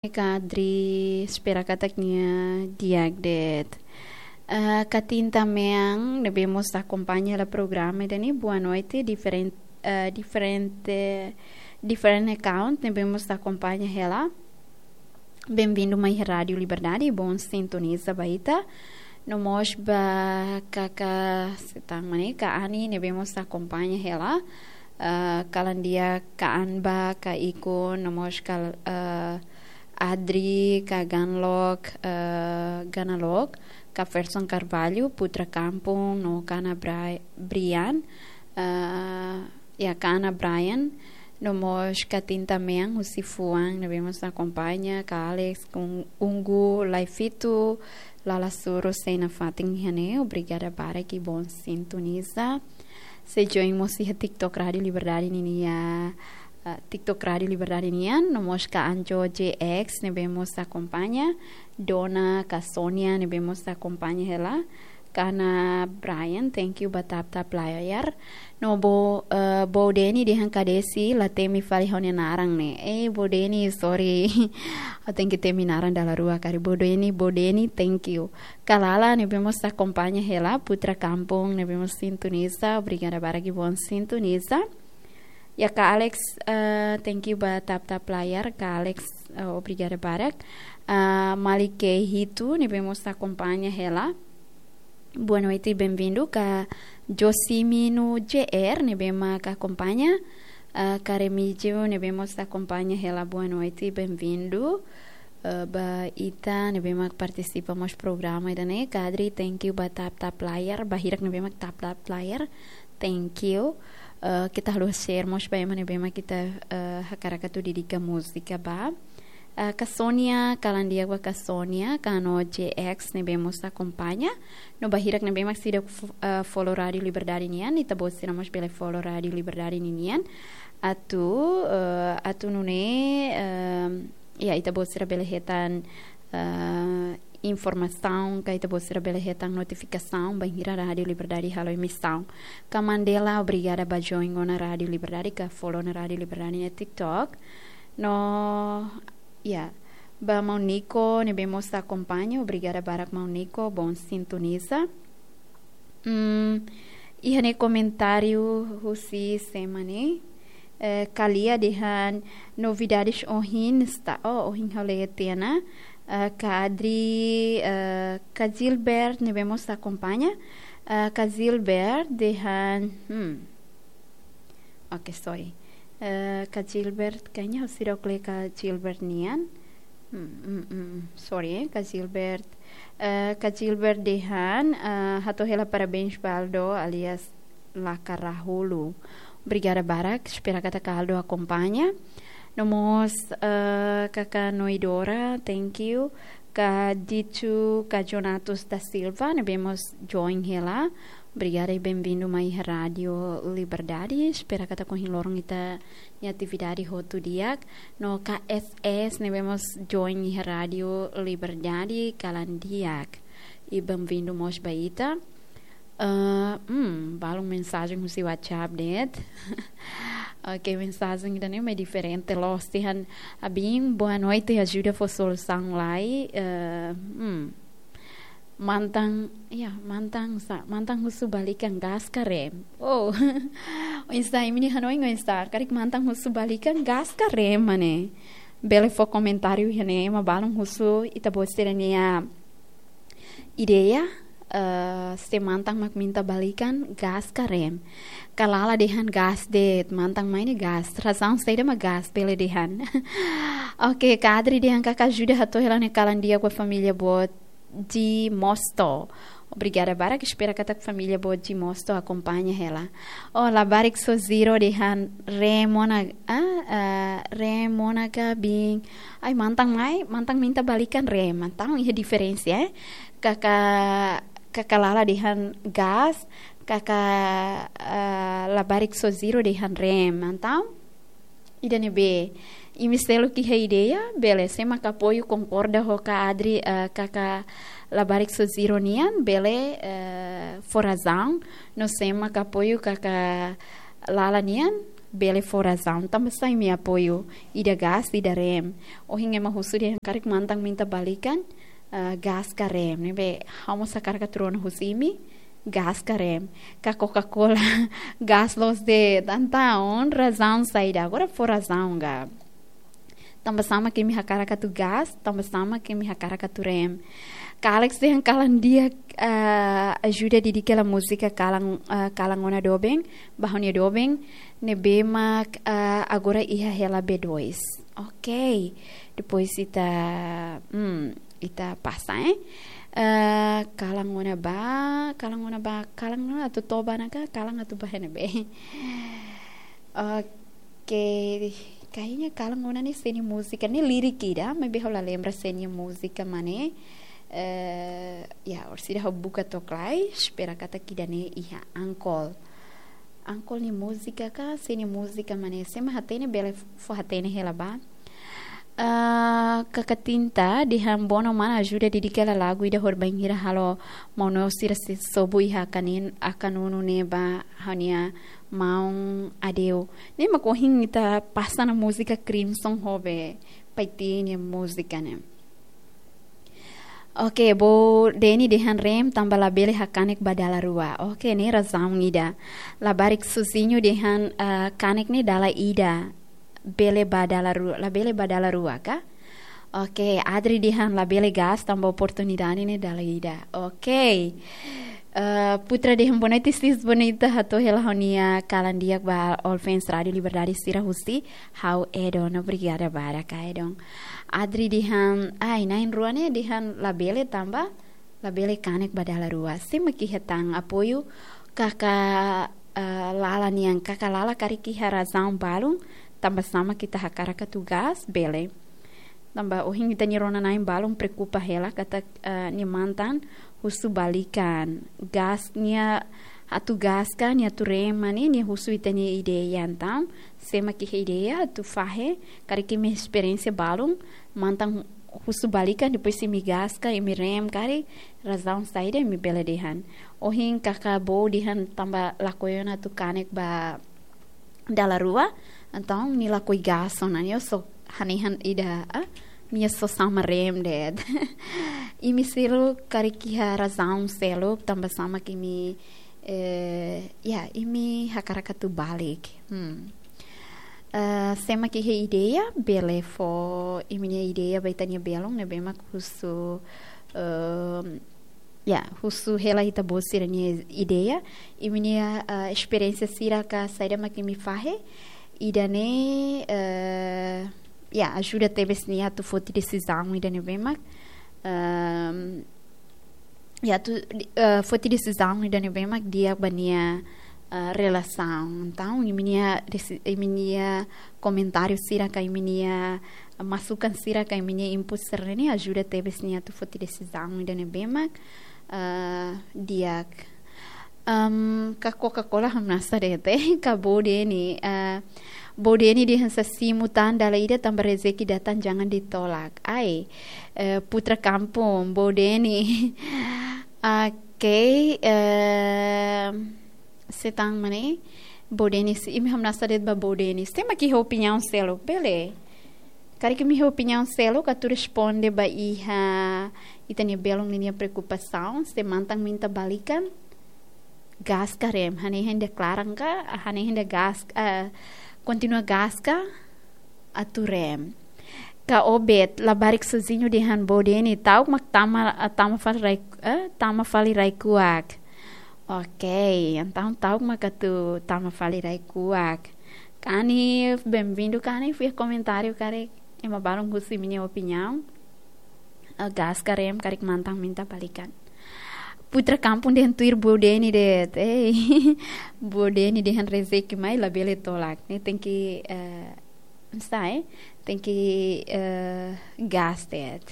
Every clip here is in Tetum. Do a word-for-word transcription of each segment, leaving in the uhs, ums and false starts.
Kadri, espera katak nia di'ak de'it. Eh, Katinta Meang, ne'ebé mós akompaña hela programa ida-ne'e, boa noite, diferen-, eh, diferente, diferente account, ne'ebé mós akompaña hela. Bem-vindo mai Rádiu Liberdade, bom sintoniza ba ita. No mós ba kaka, se tan mane, ka Ani, ne'ebé mós akompaña hela. Eh, kalan di'ak ka Anba, ka Iko, no mós ka, eh, Adri, ka Ganlok, eh, Ganalok, ka Ferson Carvalho, Putra Kampung, no ka Ana Bri-, Brian, eh, ya, ka Ana Brian, no mós Katinta Meang, husi fuan, ne'ebé mós akompaña, ka Alex, ka Ungu, Laifitu, Lala Suru, sei nafatin iha ne'e, obrigada barak, bom sintoniza. Sei join mós iha TikTok Rádiu Liberdade ninia, ah, TikTok Rádiu Liberdade nian, no mós ka Anjo J X, ne'ebé mós akompaña, Dona, ka Sonia, ne'ebé mós akompaña hela, ka Ana Brian, thank you ba tap-tap layar. No Bo, eh, Bo Deni dehan ka Desi, la temi fali ha'u-nia naran ne'e. Eh, Bo Deni, sorry. Ha'u tenke temi naran dala rua karik. Bo Deni, Bo Deni, thank you. Ka Lala, ne'ebé mós akompaña hela, Putra Kampung, ne'ebé mós sintoniza, obrigada barak, bom sintoniza. Ya, ka Alex, eh, thank you ba tap-tap layar, ka Alex, eh, obrigada barak. Ah, Malike Hitu, ne'ebé mós akompaña hela. Boa noite, bem-vindo, ka Josimino J R, ne'ebé mak akompaña. Ah, ka Remigio, ne'ebé mós akompaña hela, boa noite, bem-vindo. Eh, ba ita ne'ebé mak partisipa mós programa ida-ne'e, Kadri, thank you ba tap-tap layar, ba hirak ne'ebé mak tap-tap layar, thank you. Eh, keta haluha share mós ba ema ne'ebé mak ita, eh, hakarak atu dedika múzika ba. Eh, ka Sonia, kalan di'ak ba ka Sonia, ka Ano J X ne'ebé mós akompaña. No ba hirak ne'ebé mak seidauk fo-, eh, follow Rádiu Liberdade nian, ita-boot sira mós bele follow Rádiu Liberdade ninian. Atu, eh, atu nune'e, eh, ya, ita-boot sira bele hetan, eh, informasaun, ka ita-boot sira bele hetan notifikasaun, bainhira Rádiu Liberdade halo emisaun. Ka Mandela, obrigada ba join ona Rádiu Liberdade, ka follow ona Rádiu Liberdade iha TikTok. No, ya, ba Maun Nico, ne'ebé mós akompaña, obrigada barak Maun Nico, bom sintoniza. Hmm, iha ne'e komentáriu husi sé mak ne'e, eh, ka Lia dehan novidades ohin está, oh, ohin ha'u lee tiha ona, eh, ka Adri, eh, ka Gilbert, ne'ebé mós akompaña, eh, ka Gilbert dehan, hmm, oke, sorry. Eh, ka Gilbert, kayaknya ha'u seidauk lee ka Gilbert nian. Hmm, hmm, hmm, sorry, eh, ka Gilbert. Eh, ka Gilbert dehan, eh, hato'o hela parabéns ba Aldo alias Laka Rahulu. Obrigada barak, espera katak Aldo akompaña. No mós, eh, kaka Noidora, thank you. Ka Ditu, ka Jonatus da Silva, ne'ebé mós join hela. Obrigada i bem-vindo mai Rádiu Liberdade. Espera katak ohin loron ita-nia atividade hotu di'ak. No ka S S ne'ebé mós join iha Rádiu Liberdade, kalan di'ak. I bem-vindo mós ba ita. Ah, hmm, balun mensajen husi WhatsApp de'it. Oke, mensajen ida-ne'e mak diferente loos, dehan: Abin, boa noite, ajuda fó solusaun lai. Eh, hmm. Mantan, ya, mantan sá, mantan husu balikan gas ka rem. Oh. Oinsá, imi-nia hanoin oinsá, karik mantan husu balikan gas ka rem, mane? Bele fó komentáriu iha ne'e, ema balun husu ita-boot sira-nia ideia, eh, se mantan mak minta balikan gas ka rem. Ka Lala dehan gas de'it, mantan mai ne'e gas. Razaun saida mak gas, bele dehan. Oke, ka Adri dehan karik ajuda hato'o hela ne'e kalan di'ak ba família boot Di Mosto. Obrigada barak, espera katak família boot Di Mosto akompaña hela. Oh, Labarik Soziro dehan rem ona, ah, ah, rem ona ka bin. Ai, mantan mai, mantan minta balikan rem. Entaun iha diferensa, eh. Kaka, kaka Lala dehan gas, kaka, ah, Labarik Soziro dehan rem. Entaun, ida-ne'ebé, imi seluk iha ideia, bele, sé mak apoiu, konkorda ho ka Adri, eh, kaka Labarik Soziro nian, bele, eh, fó razaun, no sé mak apoiu kaka Lala nian, bele fó razaun, tanba sá imi apoiu ida gas, ida rem. Ohin ema husu dehan karik mantan minta balikan, eh, gas ka rem. Ne'ebé ha'u mós hakarak atu rona husi imi, gas ka rem. Ka Coca-Cola, gas loos de'it. Entaun, razaun saida? Agora fó razaun ka. Tanba sá mak imi hakarak atu gas, tanba sá mak imi hakarak atu rem. Ka Alex dehan kalan di'ak, eh, ajuda didik hela múzika kalan, eh, kalan ona doben, ba ha'u-nia doben, ne'ebé mak, eh, agora iha hela B dois. Ok. Depois ita, hmm, ita pasa, eh. Eh, kalan ona ba, kalan ona ba, kalan ona atu toba naka, kalan atu ba ne'ebé. Ok, kayaknya kalan ona ne'e sé nia múzika, ne'e lirik ida, maibé ha'u la lembra sé nia múzika mak ne'e. Eh, ya, orsida ha'u buka to'ok lai, espera katak ida-ne'e iha Ankol. Ankol nia múzika ka, sé nia múzika mak ne'e, sé mak hatene bele fó hatene hela ba. Ah, Kaka Tinta dehan bono mana ajuda didik hela lagu ida horibainhira halo maun-alin sira sei sobu iha akanin, akanunu ne'e ba ha'u-nia maun Adeu. Ne'e mak ohin ita pasa ona múzika Crimson ho be Paiti nia múzika ne'e. Ok, Bo Deni dehan rem tanba labele hakanek ba dala rua. Ok, ne'e razaun ida. Labarik Suzinho dehan, ah, kanek ne'e dala ida. Bele ba dala rua, labele ba dala rua ka? Ok, Adri dehan labele gas tanba oportunidade ne'e dala ida. Ok. Eh, Putra dehan boa noite, sis bonita, hato'o hela ha'u-nia kalan di'ak ba all fans Rádio Liberdade sira husi ha'u Edon. Obrigada barak ka Edon. Adri dehan, ai, na'in-rua ne'e dehan labele tanba labele kanek ba dala rua. Sé mak iha tan apoiu kaka, eh, Lala nian, kaka Lala karik iha razaun balun, tanba sá mak ita hakarak atu gas, bele. Tanba ohin ita-nia rona-na'in balun preokupa hela katak, eh, nia mantan husu balikan. Gas nia atu gas ka, nia atu rem mak ne'e, nia husu ita-nia ideia entaun. Sé mak iha ideia atu fahe, karik imi esperiénsia balun, mantan husu balikan, depois imi gas ka, imi rem karik, razaun saida imi bele dehan. Ohin kaka Bo dehan tanba lakohi ona atu kanek ba dala rua, entaun nia lakohi gas ona, nia só hanehan ida, ah, nia só sama rem de'it. Imi seluk karik iha razaun seluk, tanba sá mak imi, eh, ya, imi hakarak atu balik. Hmm. Eh, sé mak iha ideia, bele fó imi-nia ideia ba ita-nia belun, ne'ebé mak husu, ehm, ya, husu hela ita-boot sira-nia ideia, imi-nia, eh, esperiénsia sira ka saida mak imi fahe, ida-ne'e, eh, ya, ajuda tebes nia atu foti desizaun ida ne'ebé mak, ehm, ya, atu, eh, foti desizaun ida ne'ebé mak di'ak ba nia, eh, relasaun. Entaun, imi-nia desi-, imi-nia komentáriu sira ka imi-nia masukan sira ka imi-nia input sira-ne'e ajuda tebes nia atu foti desizaun ida ne'ebé mak, eh, di'ak. Em, ka Coca-Cola hamnasa de'it, ka Bo Deni, eh, Bo Deni dehan sá simu tan dala ida tanba rezeki datang jangan ditolak. Ai, eh, Putra Kampung, Bo Deni. Ok, eh, sé tan mak ne'e, Bo Deni, sé imi hamnasa de'it ba Bo Deni. Sé mak iha opiniaun seluk, bele. Karik imi iha opiniaun seluk atu responde ba iha ita-nia belun ninia preokupasaun, sé mantan minta balikan, gas ka rem, hanehan ida klaran ka, hanehan ida gas, eh, kontinua gas ka, atu rem. Ka Obed, labarik Suzinho dehan Bo Deni, ta'uk mak tama, tama fali rai, eh, tama fali rai kuak. Ok, entaun ta'uk mak atu tama fali rai kuak. Ka Anif, bem-vindo, ka Anif, iha komentáriu karik ema balun husu imi-nia opiniaun. Eh, gas ka rem karik mantan minta balikan. Putra Kampung dehan tuir Bo Deni de'it. Ei, Bo Deni dehan rezeki mai labele tolak. Ne'e tenke, eh, sai, tenke, eh, gas de'it.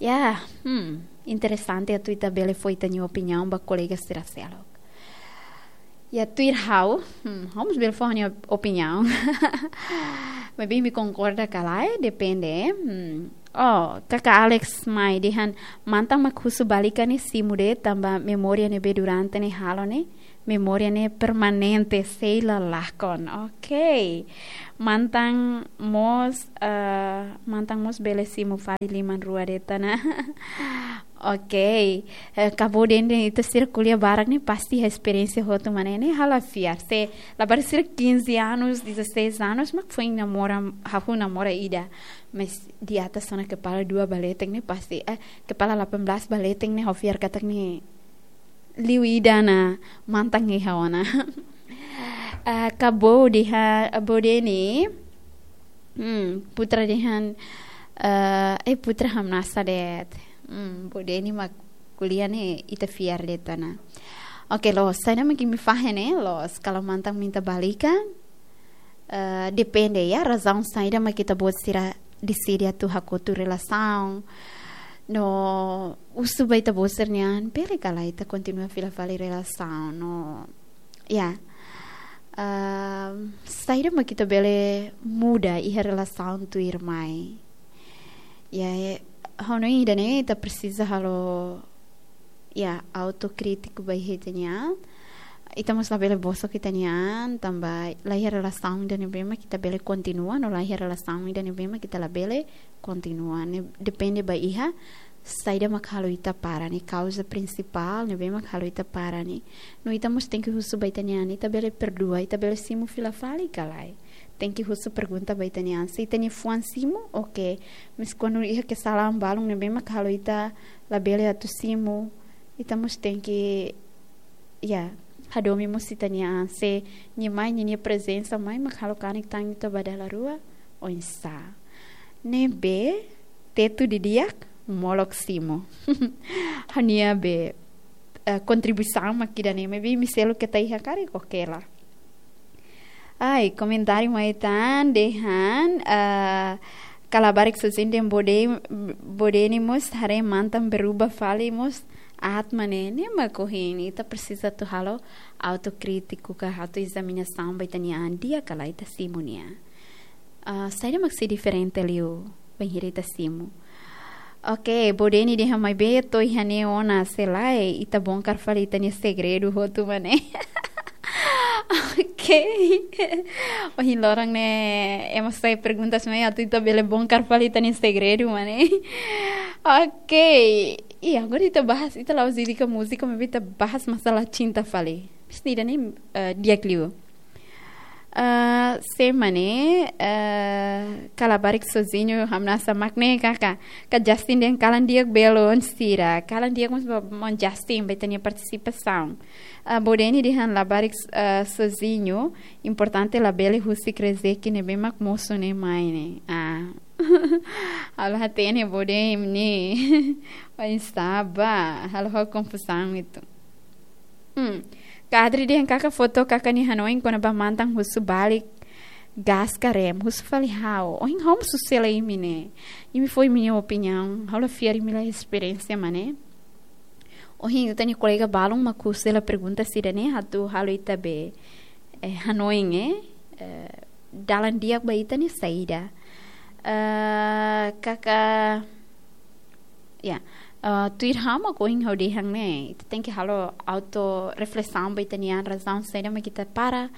Ya, hmm, interesante atu ita bele fó ita-nia opiniaun ba kolega sira seluk. Ya, tuir ha'u, hmm, ha'u mós bele fó ha'u-nia opiniaun. Maibé imi konkorda ka lae, depende. Hmm. Oh, kaka Alex mai dehan mantan mak husu balikan ne'e simu de'it tanba memória ne'ebé durante ne'e halo ne'e memória ne'e permanente, sei la lakon. Ok. Mantan mós, eh, mantan mós bele simu fali liman rua de'it ona. Ok. Eh, Cabo Verde ita sira ko'alia barak ne'e pasti iha esperiénsia hotu mak ne'e, ne'e ha'u la fiar. Se labarik sira quinze anos, dezasseis anos, mak foin namora, hahú namora ida. Mas di atas ona kepala dua ba leten ne'e pasti, eh, kepala delapan belas ba leten ne'e ha'u fiar katak ne'e liu ida ona mantan iha ona. Eh, Cabo Verde, Cabo Verde ne'e, hmm, Putra dehan, eh, eh, Putra hamnasa de'it. Hmm, Cabo Verde ne'e mak ko'alia ne'e ita fiar de'it ona. Ok, loos, saida mak imi fahe ne'e, loos, kalau mantan minta balikan, eh, depende, ya, razaun saida mak ita-boot sira deside atu hakotu relasaun. No husu ba ita-boot sira-nian, bele ka lae ita kontinua fila fali relasaun, no, ya. Ehm, saida mak ita bele muda iha relasaun tuirmai. Ya, eh, ha'u hanoin ida-ne'e ita presiza halo, ya, autokrítiku ba iha ita-nia an. Ita mós labele bosok ita-nia an, tanba la iha relasaun ida ne'ebé mak ita bele kontinua, no la iha relasaun ida ne'ebé mak ita labele kontinua. Ne'e depende ba iha saida mak halo ita para ne'e, kauza prinsipál ne'ebé mak halo ita para ne'e. No ita mós tenke husu ba ita-nia an, ita bele perdua, ita bele simu fila fali ka lae. Tenke husu pergunta ba ita-nia an. Se ita-nia fuan simu, ok. Mas kuandu iha kesalahan balun ne'ebé mak halo ita labele atu simu, ita mós tenke, ya, hadomi mós ita-nia an. Se nia mai, nia, nia prezensa mai mak halo kanek tan ita ba dala rua, oinsá. Ne'ebé tetu didi'ak, molok simu. Ha'u-nia be, eh, kontribuisaun mak ida-ne'e, maibé imi seluk keta iha karik, ok la. Ai, komentáriu mai tan dehan, eh, ka labarik sozinho dehan Cabo Verde, Cabo Verde ne'e mós haree mantan berubah fali mós aat mak ne'e, ne'e mak ohin ita presiza atu halo autokrítiku ka autoezaminasaun ba ita-nia an, di'ak ka lae ita simu nia. Ah, saida mak sei diferente liu bainhira ita simu? Ok, Cabo Verde ne'e dehan maibé to'o iha ne'e ona, se lae ita bongkar fali ita-nia segredu hotu mak ne'e. Ok. Ohin loron ne'e ema sai perguntas mai atu ita bele bongkar fali ita-nia segredu mak ne'e. Ok. Iya, agora ita bahas, ita la'ós dedika múzika, maibé ita bahas masalah cinta fali. Pasti ida-ne'e, eh, di'ak liu. Ah, se mak ne'e, eh, ka labarik sozinho hamnasa mak ne'e kaka. Ka Justin dehan kalan di'ak belun sira. Kalan di'ak mós ba maun Justin ba ita-nia partisipasaun. Ah, Cabo Verde ne'e dehan labarik, ah, sozinho, importante labele husik rezeki ne'ebé mak mosu ne'e mai ne'e. Ah. Ha'u la hatene Cabo Verde ne'e. Oinsá ba, halo ha'u konfuzaun uitoan. Hmm. Ka Adri dehan kaka foto kaka nia hanoin kona-ba mantan husu balik gas ka rem, husu fali ha'u. Ohin ha'u mós husu hela imi ne'e. Imi fó imi-nia opiniaun, ha'u la fiar imi la esperiénsia mak ne'e. Ohin ita-nia kolega balun mak husu hela pergunta sira-ne'e atu halo ita be, eh, hanoin, eh, eh, dalan di'ak ba ita ne'e saida. Eh, kaka, ya, eh, tuir ha'u mak ohin ha'u dehan ne'e, ita tenke halo auto reflesaun ba ita-nia an, razaun saida mak ita para,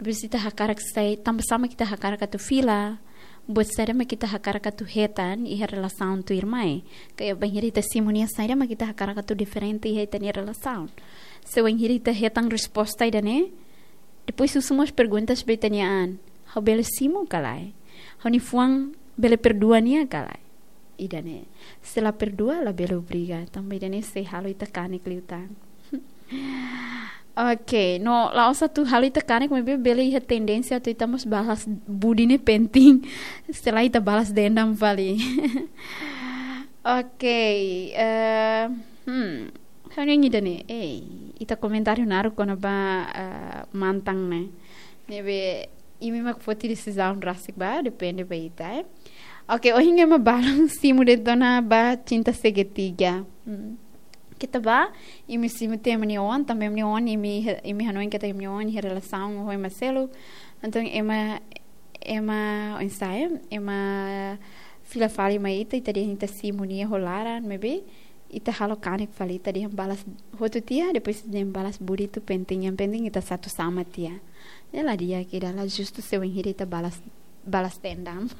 depois ita hakarak sai, tanba sá mak ita hakarak atu fila, buat saida mak ita hakarak atu hetan iha relasaun tuirmai. Kayak bainhira ita simu nia, saida mak ita hakarak atu diferente iha ita-nia relasaun. Se bainhira ita hetan resposta ida-ne'e, depois husu mós perguntas ba ita-nia an. Ha'u bele simu ka lae? Ha'u-nia fuan bele perdua nia ka lae? Ida-ne'e. Se la perdua, labele obriga. Tanba ida-ne'e sei halo ita kanek liután. Ok, no, la'ós atu halo ita kanek, maibé bele iha tendénsia atu ita mós balas budi ne'e penting. Se lae ita balas dendam fali. Ok, eh, hmm, ha'u-nia ida-ne'e, eh, ita komentáriu naruk kona-ba, eh, mantan ne'e. Ne'ebé imi mak foti desizaun rasik ba, depende ba ita, eh. Ok, ohin ema balun simu de'it ona ba cinta segitiga. Hmm. Keta ba, imi simu tiha ema nia oan, tanba ema nia oan, imi, imi hanoin katak ema nia oan iha relasaun ho ema seluk. Entaun ema, ema, oinsá, ema fila fali mai ita, ita dehan ita simu nia ho laran, maibé ita halo kanek fali, ita dehan balas hotu tiha, depois ita dehan balas buritu penting, yang penting ita satu sama tiha. Ya la di'ak, ida la justu se wainhira ita balas, balas dendam.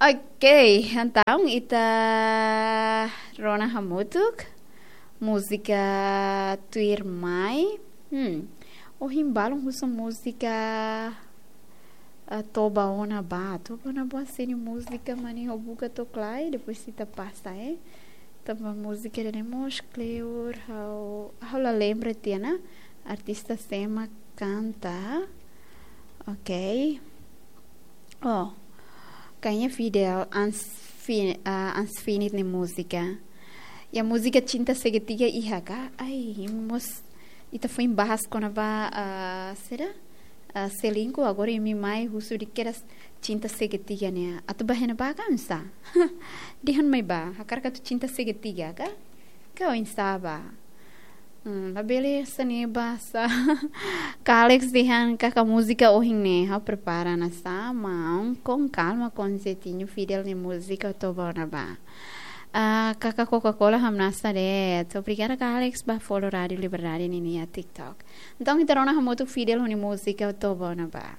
Oke, entaun ita rona hamutuk múzika tuirmai. Hmm. Ohin balun husu múzika, ah, Toba Ona Ba. Toba Ona Ba sira-nia múzika, mane ha'u buka to'o la iha, depois ita pasa, eh. Tanba múzika ida-ne'e mós kleur, ha'u, ha'u la lembra tiha ona artista sé mak kanta. Ok. Oh, kayaknya Fidel Ans-, Fi-, ah, Ansfinit nia múzika. Ya, múzika Cinta Segitiga iha ka? Ai, mós ita foin bahas kona-ba, ah, saida? Ah, selingkuh, agora imi mai husu di'ak kedas Cinta Segitiga ne'e. Atu ba iha ne'ebá ka oinsá? Dehan mai bá, hakarak atu cinta segitiga ka? Ka oinsá bá? Hmm, labele hanesan ne'e bá sá. Kak Alex dehan katak múzika ohin ne'e, ha'u prepara ona sá, maun, com calma, com jeitinho, Fidel nia múzika Toba Ona Ba. Ah, katak Coca-Cola hamnasa de'it. Obrigada, Kak Alex, ba follow Rádio Liberdade ninia TikTok. Entaun, ita rona hamutuk Fidel nia múzika Toba Ona Ba.